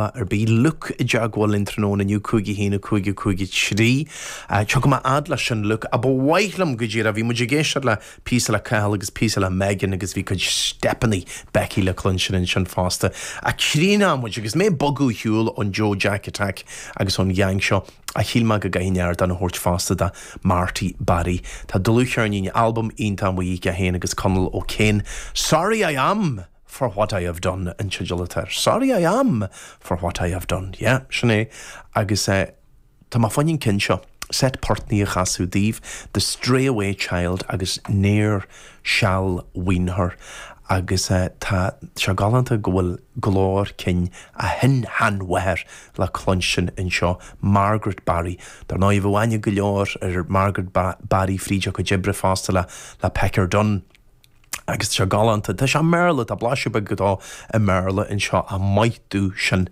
Ar bith. Luke i dteagmháil linn tráthnóna inniu, 5 1 5 5 3. Tiocfaidh mé fhad leis sin Luke. Ach ba mhaith liom go díreach, bhí muid ag éisteacht le píosa le Cathal agus píosa le Megan agus bhí cuid steipeanna Becky le cluinstin ansin fosta. Ach críochnóidh muid agus mé ag bogadh ar shiúl ón Joe Jack Attack agus ón gheaing seo ach shíl mé go gcaithfinn ardán a thabhairt fosta do Marty Barry. Tá dlúthcheirnín, albam iontach amuigh aige féin agus Conall O'Kane. Sorry I Am! For what I have done an teideal atá air. Sorry I am for what I have done. Yeah, sin é. Agus eh, tá mé fá choinne an ceann seo, set portnaí a chasadh daoibh, The Stray Away Child agus Ne'er Shall Wean Her. Agus eh, tá sé galánta go bhfuil glór cinn a shin-sheanmháthair le cluinstin anseo, Margaret Barry. Dar ndóigh, bheadh aithne go leor ar Margaret Barry fríd a cuid oibre fosta le le Pecker Dunne. Agus tá sé galánta. Tá sé i mBéarla, tá blaiseadh beag dó i mBéarla anseo, ach maith domh sin.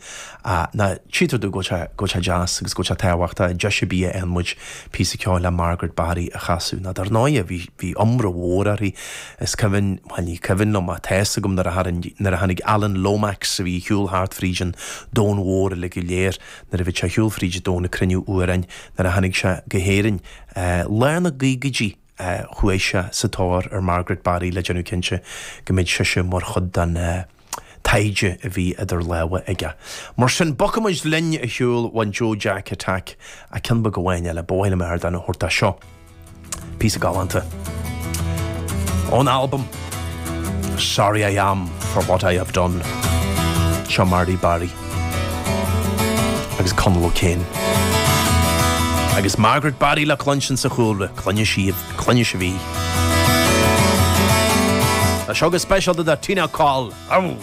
Ná tchítear domh go bhfuil sé, go bhfuil sé deas agus go bhfuil sé tábhachtach, deis ar bith a fhaigheann muid píosa ceoil le Margaret Barry a chasadh. Ná dar ndóighe, bhí, bhí iomrá mhór uirthi. Is cuimhin, bhuel ní cuimhin liom ach tá fhios agam nuair a tharraing, nuair a tháinig Alan Lomax a bhí ag siúl thart fríd an domhan mhór uilig go léir, nuair a bhí sé ag siúl fríd an domhan ag cruinniú amhráin, nuair a tháinig sé go hÉirinn, lár na gcaogaidí, Chuaigh sé sa tóir ar Margaret Barry le déanamh cinnte go mbeadh sise mar chuid den taighde a bhí idir lámha aige. Mar sin, bogfaidh muid linn ar shiúl ón Joe Jack Attack ach ceann beag amháin eile, ba mhaith liom ardán a thabhairt dó seo. Píosa galánta ón albam Sorry I Am For What I Have Done. Seo Marty Barry. agus Conall O'Kane. Agus Margaret Barry le cluinstin sa chúlra, cluinfidh sibh, cluinfidh sibh í. Tá seo go speisialta do Tina Coll. Au!